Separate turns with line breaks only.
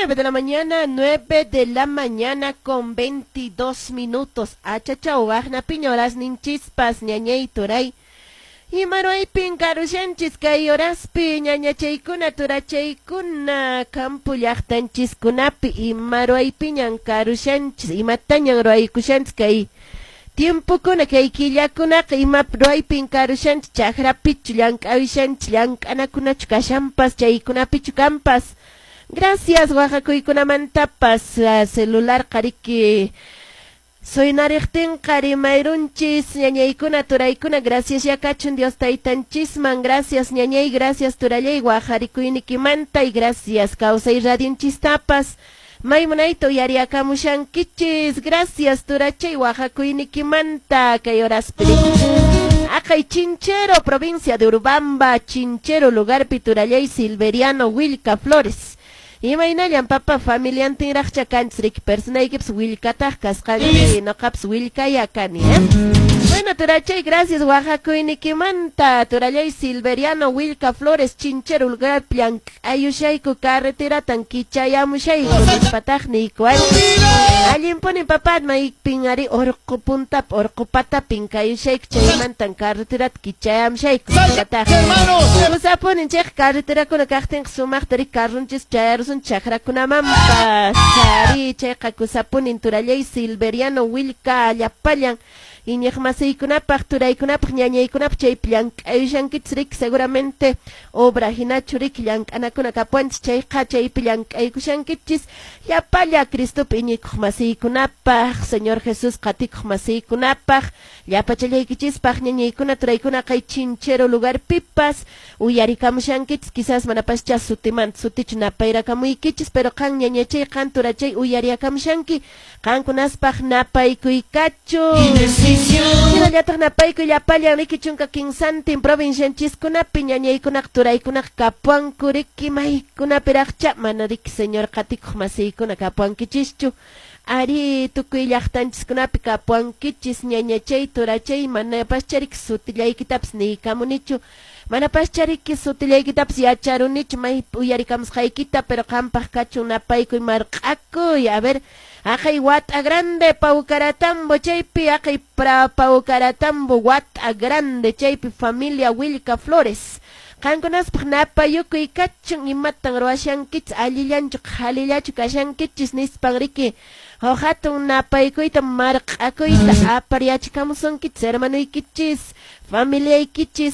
9 de la mañana, 9 de la mañana con 22 minutos. Achachau, waqnapiña horasninchispas, ñañay turay. Imaruaypin karushanchis kay horaspi, ñañachaykuna, turachaykuna, campo llaqtanchiskunapi, imaruaypiñan karushanchis, imatañan ruaykushanchis kay tiempokuna, kay killakunaqa, ima ruaypin karushanchis, chakrapichu, llank'awishanchis, llank'anakunachu kashanpas, chaykunapichu kampas. Gracias, waqakuykunamantapas, celular qariki soynariqtinqa rimayrunchis, ñañaykuna, turaykuna, gracias ya kachun Dios taytanchisman, gracias ñañay, gracias turallay, waqarikuynikimanta y gracias kawsay radionchistapas. Maymunayta uyariakamushankichis, gracias turachay waqakuynikimanta kay horaspi. Aqay Chinchero, provincia de Urubamba, Chinchero, lugarpi turallay Silveriano Wilca Flores. Imaynallan papa familiantinraqcha kanchis riki personaykipas willkataq kasqanki, noqapas willkaya kani, eh? Bueno, turachay, gracias waqakuynikimanta, turallay Silveriano Wilca Flores, Chinchero, lugar llank'ayushayku carreteratan kichayamushayku nispataq niykuwan. Allinpunin papá, maypin ari orqo puntap, orqo patapin kayushayku, chaymantan carreterata kichayamushayku nispataq. Kusapunin chayqa carreterakuna kaqtinqa sumaqta ri carrunchis chayarusun chakrakunamanpas. Ari chayqa kusapunin turallay Silveriano Wilca llapallan iñiqmasiykunapaq, turaykunapaq, ñañaykunapaq chaypi llank'ayushankichis riki seguramente obra hinachu riki llank'anakuna kapuanchis chayqa chaypi llank'aykushankichis llapalla Cristopi iñikuq masiykunapaq, Señor Jesús qatikuq masiykunapaq, llapachallaykichispaq ñañaykuna, turaykuna kay Chinchero lugarpipas uyarikamushankichis, quizás manapascha sutimanta sutichu napayrakamuykichis, pero qan ñañachay, qan turachay uyariakamushanki, qankunaspaq napaykuykachu. Hinallataq napaykuy llapallan riki chunka kinsantin provincianchiskunapi ñañaykunaq turaykunaq kapuanku riki maykunapiraqcha mana riki señor qatikuq masiykuna kapuankichischu. Ari tukuy llaqtanchiskunapi kapuankichis ñañachay turachay manapascha riki sutillaykitapas niykamunichu, manapascha riki sutillaykitapas yacharunichu may uyarikamusqaykita, pero qampaq kachun napaykuy marq'akuy. A ver, aqay Wat'a Grande Paucaratambo chaypi, aqay pra Paucaratambo Wat'a Grande chaypi familia Wilca Flores. Qankunaspaq napayukuy kachun imatan ruwashankichis allillanchu qhalillachu kashankichis nispan riki huk hatun napaykuyta marq'akuyta aparyachikamusunkichis hermanuykichis familiaykichis.